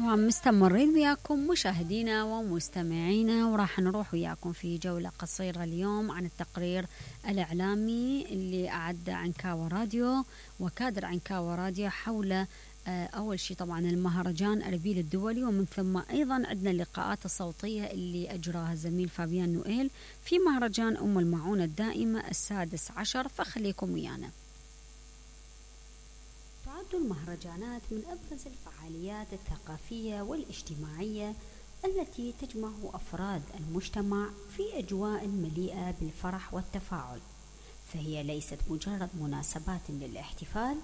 طبعا مستمرين وياكم مشاهدينا ومستمعينا، وراح نروح وياكم في جولة قصيرة اليوم عن التقرير الإعلامي اللي أعد عنكاوى راديو وكادر عنكاوى راديو حول أول شيء طبعا المهرجان أربيل الدولي، ومن ثم أيضا عندنا اللقاءات الصوتية اللي أجراها الزميل فابيان نويل في مهرجان أم المعونة الدائمة السادس عشر، فخليكم ويانا. تعد المهرجانات من أبرز الفعاليات الثقافية والاجتماعية التي تجمع أفراد المجتمع في أجواء مليئة بالفرح والتفاعل، فهي ليست مجرد مناسبات للاحتفال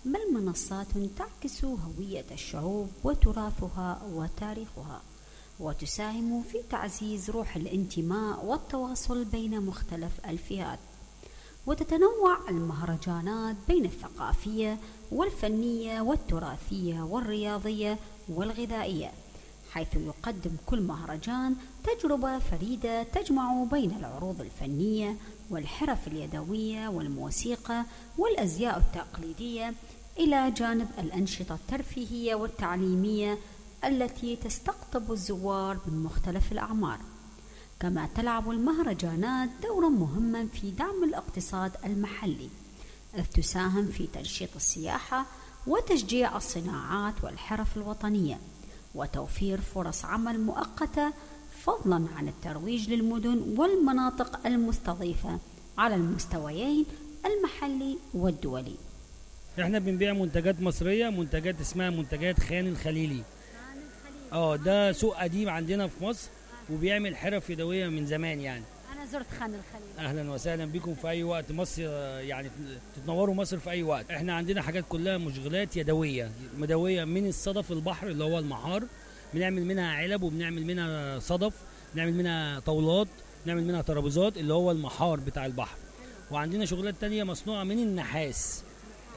بل منصات تعكس هوية الشعوب وتراثها وتاريخها، وتساهم في تعزيز روح الانتماء والتواصل بين مختلف الفئات. وتتنوع المهرجانات بين الثقافية والفنية والتراثية والرياضية والغذائية، حيث يقدم كل مهرجان تجربة فريدة تجمع بين العروض الفنية والحرف اليدوية والموسيقى والأزياء التقليدية إلى جانب الأنشطة الترفيهية والتعليمية التي تستقطب الزوار من مختلف الأعمار. كما تلعب المهرجانات دورا مهما في دعم الاقتصاد المحلي، إذ تساهم في تنشيط السياحة وتشجيع الصناعات والحرف الوطنية وتوفير فرص عمل مؤقتة، فضلا عن الترويج للمدن والمناطق المستضيفة على المستويين المحلي والدولي. احنا بنبيع منتجات مصرية، منتجات اسمها منتجات خان الخليلي. ده سوق قديم عندنا في مصر وبيعمل حرف يدوية من زمان يعني. أنا زرت خان الخليلي. أهلا وسهلا بكم في أي وقت مصر، يعني تتنوروا مصر في أي وقت. احنا عندنا حاجات كلها مشغلات يدوية مدوية من الصدف البحر اللي هو المحار، بنعمل منها علب وبنعمل منها صدف، بنعمل منها طاولات، بنعمل منها ترابيزات اللي هو المحار بتاع البحر. وعندنا شغلات تانية مصنوعة من النحاس،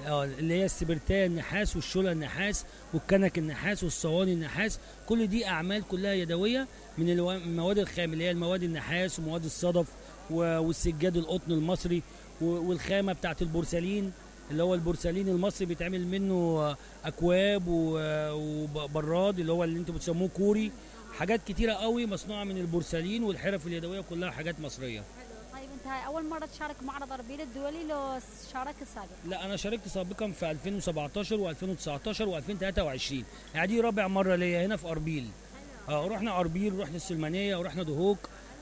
اللي هي السبرتاية النحاس والشولة النحاس والكنك النحاس والصواني النحاس، كل دي أعمال كلها يدوية من المواد الخام اللي هي المواد النحاس ومواد الصدف والسجاد القطن المصري والخامة بتاعت البورسلين اللي هو البورسلين المصري بيتعمل منه أكواب وبراد اللي هو اللي انتوا بتسموه كوري. حاجات كتيرة قوي مصنوعة من البورسلين والحرف اليدوية كلها حاجات مصرية. هاي أول مرة تشارك معرض أربيل الدولي لو شاركت سابقا؟ لا، أنا شاركت سابقا في 2017 و2019 و2023، يعني دي رابع مرة ليا هنا في أربيل. رحنا أربيل، رحنا السلمانية، ورحنا دهوك،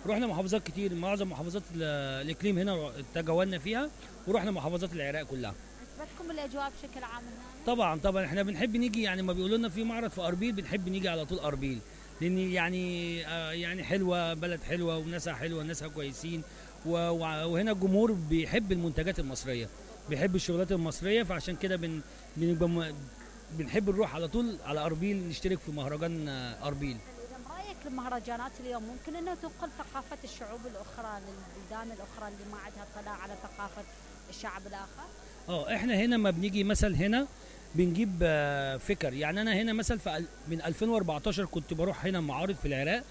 رحنا محافظات كتير، معظم محافظات الإقليم هنا تجولنا فيها، ورحنا محافظات العراق كلها. عجبتكم الأجواء بشكل عام هنا؟ طبعا احنا بنحب نيجي، يعني ما بيقولوا لنا في معرض في أربيل بنحب نيجي على طول أربيل، لأن يعني حلوة، بلد حلوة وناسها حلوة، ناسها كويسين، وهنا الجمهور بيحب المنتجات المصرية، بيحب الشغلات المصرية، فعشان كده بنحب نروح على طول على أربيل نشترك في مهرجان أربيل. إذا رأيك المهرجانات اليوم ممكن أنها تنقل ثقافة الشعوب الأخرى للبلدان الأخرى اللي ما عندها اطلاع على ثقافة الشعب الآخر؟ احنا هنا ما بنيجي مثل هنا بنجيب فكر، يعني أنا هنا مثل من 2014 كنت بروح هنا معارض في العراق،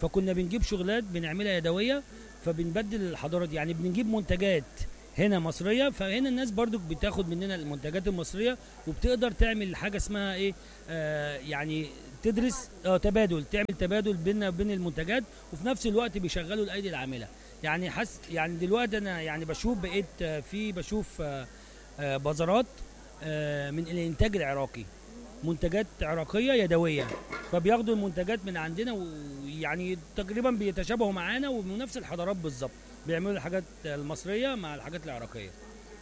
فكنا بنجيب شغلات بنعملها يدوية، فبنبدل الحضارات، يعني بنجيب منتجات هنا مصرية، فهنا الناس برضو بتاخد مننا المنتجات المصرية وبتقدر تعمل حاجة اسمها ايه، يعني تدرس تبادل، تعمل تبادل بيننا وبين المنتجات، وفي نفس الوقت بيشغلوا الأيدي العاملة. يعني دلوقتي أنا يعني بشوف بازارات من الإنتاج العراقي، منتجات عراقية يدوية، فبياخدوا المنتجات من عندنا ويعني تقريبا بيتشابهوا معانا ونفس الحضارات بالظبط، بيعملوا الحاجات المصرية مع الحاجات العراقية.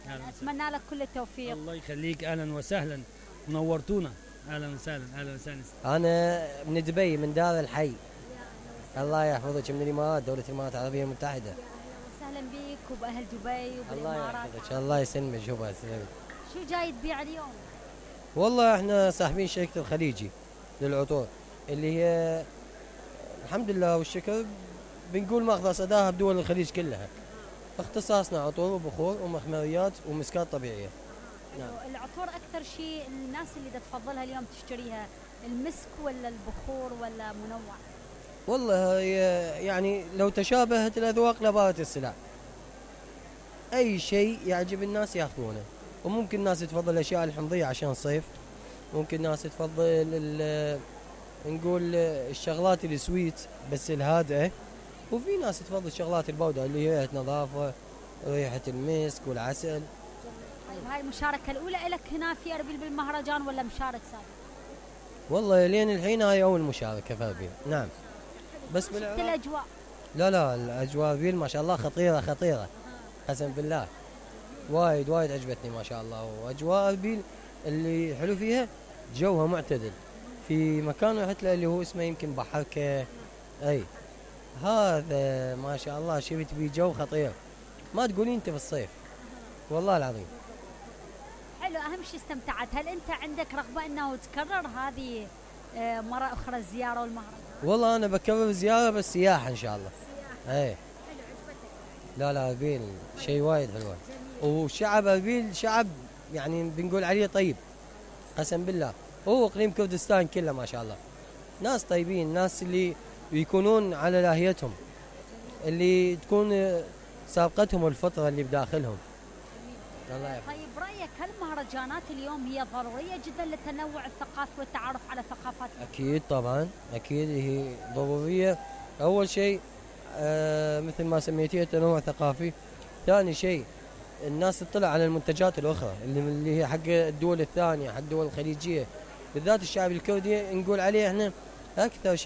أتمنى لك كل التوفيق. الله يخليك، أهلا وسهلا، منورتونا، أهلا وسهلا. أهلا وسهلا. أنا من دبي، من دار الحي. الله يحفظك، من الإمارات، دولة الإمارات العربية المتحدة. أهلا بيك وبأهل دبي وبالإمارات. الله يحفظك، الله يسلمك. شو جاي تبيع اليوم؟ والله احنا صاحبين شركة الخليجي للعطور اللي هي الحمد لله والشكر بنقول ماخذة صداها بدول الخليج كلها. اختصاصنا عطور وبخور ومخمريات ومسكات طبيعية. نعم. العطور أكثر شيء الناس اللي تفضلها اليوم تشتريها المسك ولا البخور ولا منوع؟ والله يعني لو تشابهت الأذواق لبارت السلع، أي شيء يعجب الناس يأخذونه. وممكن الناس تفضل الأشياء الحمضية عشان الصيف، ممكن الناس تفضل نقول الشغلات السويت بس الهادئة، وفي ناس تفضل الشغلات البودرة اللي هي نظافة، ريحة المسك والعسل. طيب هاي المشاركة الأولى لك هنا في أربيل بالمهرجان ولا مشارك سابق؟ والله لين الحين هاي أول مشاركة في أربيل. نعم. بس شفت الأجواء؟ لا الأجواء أربيل ما شاء الله خطيرة قسم بالله، وايد عجبتني ما شاء الله. وأجواء أربيل اللي حلو فيها جوها معتدل، في مكان رحت له اللي هو اسمه يمكن بحركة، أي هذا ما شاء الله شفت بيه جو خطير ما تقولين انت في الصيف والله العظيم. حلو. اهم شيء استمتعت. هل انت عندك رغبه انه تكرر هذه مره اخرى الزياره والمهرجان؟ والله انا بكرر زياره بس سياحه ان شاء الله. اي حلو. عجبتك؟ لا اربيل شيء وايد حلو، وشعب اربيل شعب يعني بنقول عليه طيب قسم بالله. هو اقليم كردستان كله ما شاء الله ناس طيبين، ناس اللي يكونون على لاهيتهم، اللي تكون سابقتهم الفطرة اللي بداخلهم. طيب رأيك هل المهرجانات اليوم هي ضرورية جدا للتنوع الثقافي والتعرف على ثقافات؟ أكيد طبعا، أكيد هي ضرورية. أول شيء مثل ما سميتيه تنوع ثقافي. ثاني شيء الناس تطلع على المنتجات الأخرى اللي هي حق الدول الثانية، حق الدول الخليجية، بالذات الشعب الكردي نقول عليه احنا أكثر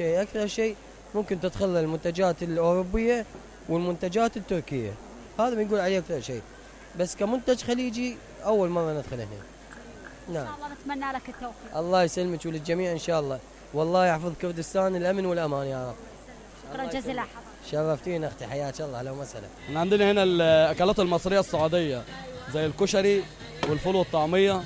شيء ممكن تدخل المنتجات الأوروبية والمنتجات التركية، هذا بنقول عليه أكثر شيء. بس كمنتج خليجي أول مرة ندخل هنا. نعم. إن شاء الله نتمنى لك التوفيق. الله يسلمك وللجميع إن شاء الله، والله يحفظ كردستان الأمن والأمان يا رب. شكرا جزيلا حضرتك. شرفتينا أختي، حياك الله. أهلا وسهلا. احنا عندنا هنا الأكلات المصرية السعودية زي الكشري والفول والطعمية.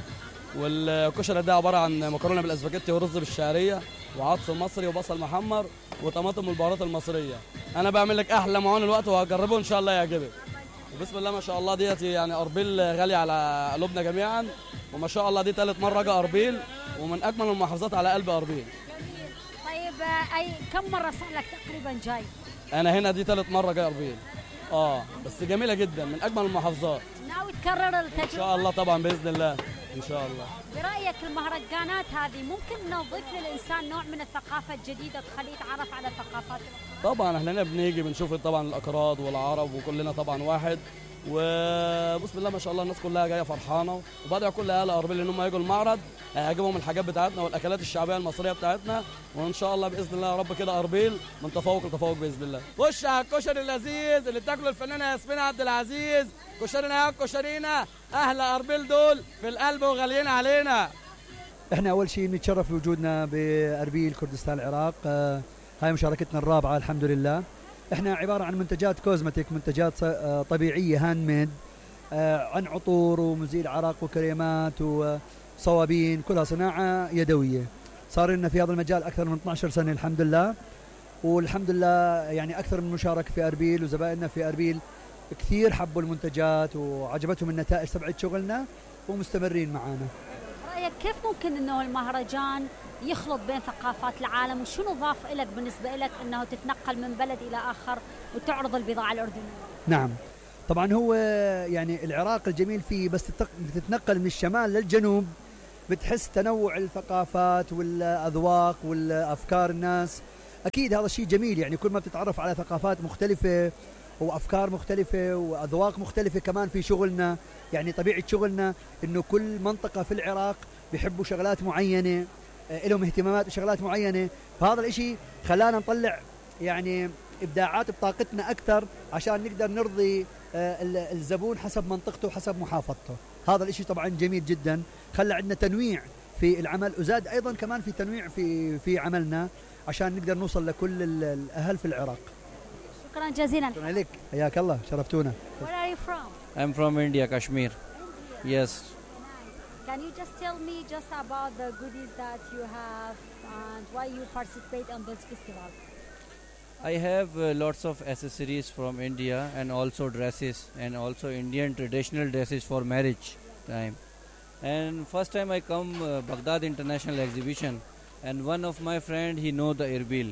والكشري ده عبارة عن مكرونة بالاسباجيتي ورز بالشعرية وعدس مصري وبصل محمر وطماطم والبهارات المصرية. أنا بعمل لك أحلى معون الوقت وهجربه إن شاء الله يعجبك. وبسم الله ما شاء الله ديت يعني أربيل غالية على قلوبنا جميعا، وما شاء الله دي ثالث مرة أجي أربيل ومن أجمل المحافظات على قلب أربيل. طيب كم مرة صار لك تقريبا جاي؟ أنا هنا دي ثالث مرة جاي أربيل. بس جميلة جدا من أجمل المحافظات. ناوي تكرر التجربة؟ إن شاء الله طبعا بإذن الله إن شاء الله. برأيك المهرجانات هذه ممكن نضيف للإنسان نوع من الثقافة الجديدة تخليه يتعرف على ثقافات؟ طبعا احنا هنا بنيجي بنشوف طبعا الأكراد والعرب وكلنا طبعا واحد، وبسم الله ما شاء الله الناس كلها جايه فرحانه، وبدعوا كل اهل اربيل ان هم يجوا المعرض هيعجبهم الحاجات بتاعتنا والاكلات الشعبيه المصريه بتاعتنا، وان شاء الله باذن الله يا رب كده اربيل من تفوق لتفوق باذن الله. خش على الكشري اللذيذ اللي بتاكله الفنانه ياسمين عبد العزيز، كشرينا يا كشرينا، اهل اربيل دول في القلب وغاليين علينا. احنا اول شيء نتشرف بوجودنا باربيل كردستان العراق. هاي مشاركتنا الرابعه الحمد لله. احنا عباره عن منتجات كوزمتيك، منتجات طبيعيه هاند ميد، عن عطور ومزيل عرق وكريمات وصوابين، كلها صناعه يدويه. صار لنا في هذا المجال اكثر من 12 سنه الحمد لله، والحمد لله يعني اكثر من مشارك في اربيل، وزبائننا في اربيل كثير حبوا المنتجات وعجبتهم النتائج تبعت شغلنا ومستمرين معنا. رايك كيف ممكن انه المهرجان يخلط بين ثقافات العالم، وشنو ضاف لك بالنسبه لك انه تتنقل من بلد الى اخر وتعرض البضاعه الاردنيه؟ نعم طبعا، هو يعني العراق الجميل فيه بس تتنقل من الشمال للجنوب بتحس تنوع الثقافات والاذواق والافكار الناس. اكيد هذا الشيء جميل، يعني كل ما بتتعرف على ثقافات مختلفه وافكار مختلفه واذواق مختلفه كمان في شغلنا. يعني طبيعه شغلنا انه كل منطقه في العراق بيحبوا شغلات معينه، لهم اهتمامات وشغلات معينه، فهذا الاشي خلانا نطلع يعني ابداعات بطاقتنا اكثر عشان نقدر نرضي الزبون حسب منطقته وحسب محافظته. هذا الاشي طبعا جميل جدا، خلى عندنا تنويع في العمل، وزاد ايضا كمان في تنويع في عملنا عشان نقدر نوصل لكل الاهل في العراق. شكرا جزيلا. شكرا لك، حياك الله، شرفتونا. Where are you from? I'm from India, Kashmir. Yes. Can you just tell me just about the goodies that you have and why you participate on this festival? I have lots of accessories from India and also dresses and also Indian traditional dresses for marriage time. And first time I come Baghdad International Exhibition, and one of my friend, he know the Erbil.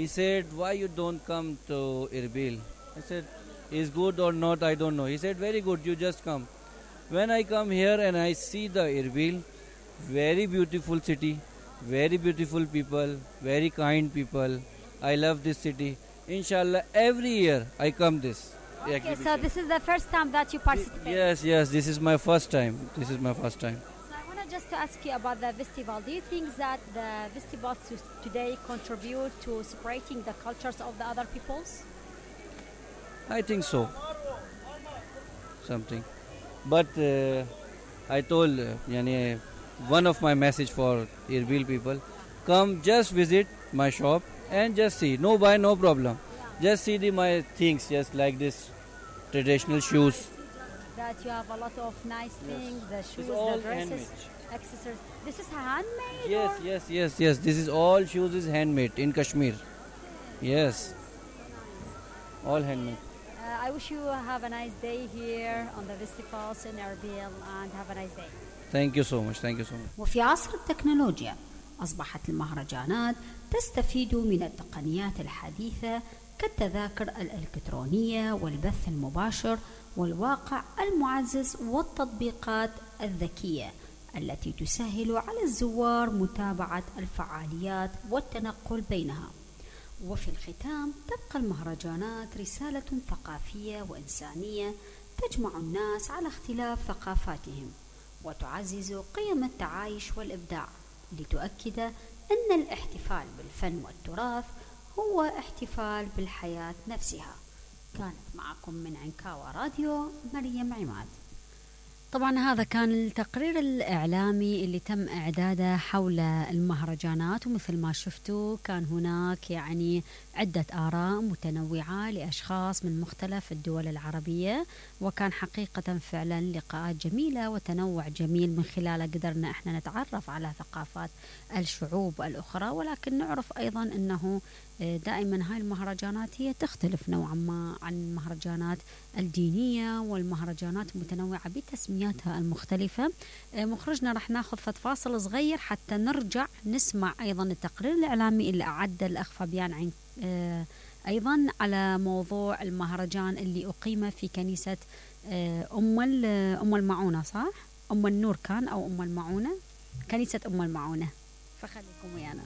He said, why you don't come to Erbil? I said, is good or not, I don't know. He said, very good, you just come. When I come here and I see the Erbil, very beautiful city, very beautiful people, very kind people. I love this city. Inshallah, every year I come this. Okay, so this is the first time that you participate. Yes, this is my first time. This is my first time. So I want to just to ask you about the festival. Do you think that the festivals today contribute to separating the cultures of the other peoples? I think so. Something. But I told one of my message for Erbil people, come just visit my shop and just see. No buy, no problem. Just see my things, just like this traditional shoes. That you have a lot of nice things, the shoes, It's all the dresses, handmade. accessories. This is handmade? or? Yes. This is all shoes is handmade in Kashmir. Yes. All handmade. I wish you have a nice day here on the festivals in Erbil and have a nice day. Thank you so much. وفي عصر التكنولوجيا أصبحت المهرجانات تستفيد من التقنيات الحديثة كالتذاكر الإلكترونية والبث المباشر والواقع المعزز والتطبيقات الذكية التي تسهل على الزوار متابعة الفعاليات والتنقل بينها. وفي الختام تبقى المهرجانات رسالة ثقافية وإنسانية تجمع الناس على اختلاف ثقافاتهم وتعزز قيم التعايش والإبداع لتؤكد أن الاحتفال بالفن والتراث هو احتفال بالحياة نفسها. كانت معكم من عنكاوى راديو مريم عماد. طبعا هذا كان التقرير الإعلامي اللي تم إعداده حول المهرجانات، ومثل ما شفتوا كان هناك عدة آراء متنوعة لأشخاص من مختلف الدول العربية، وكان حقيقة فعلا لقاءات جميلة وتنوع جميل من خلاله قدرنا احنا نتعرف على ثقافات الشعوب الأخرى، ولكن نعرف أيضا أنه دائما هاي المهرجانات هي تختلف نوعا ما عن المهرجانات الدينية والمهرجانات المتنوعة بتسمياتها المختلفة. مخرجنا رح ناخذ فاصل صغير حتى نرجع نسمع أيضا التقرير الإعلامي اللي أعد الأخ فابيان عن أيضا على موضوع المهرجان اللي أقيم في كنيسة أم المعونة، صح؟ أم النور كان أو أم المعونة، كنيسة أم المعونة، فخليكم ويانا.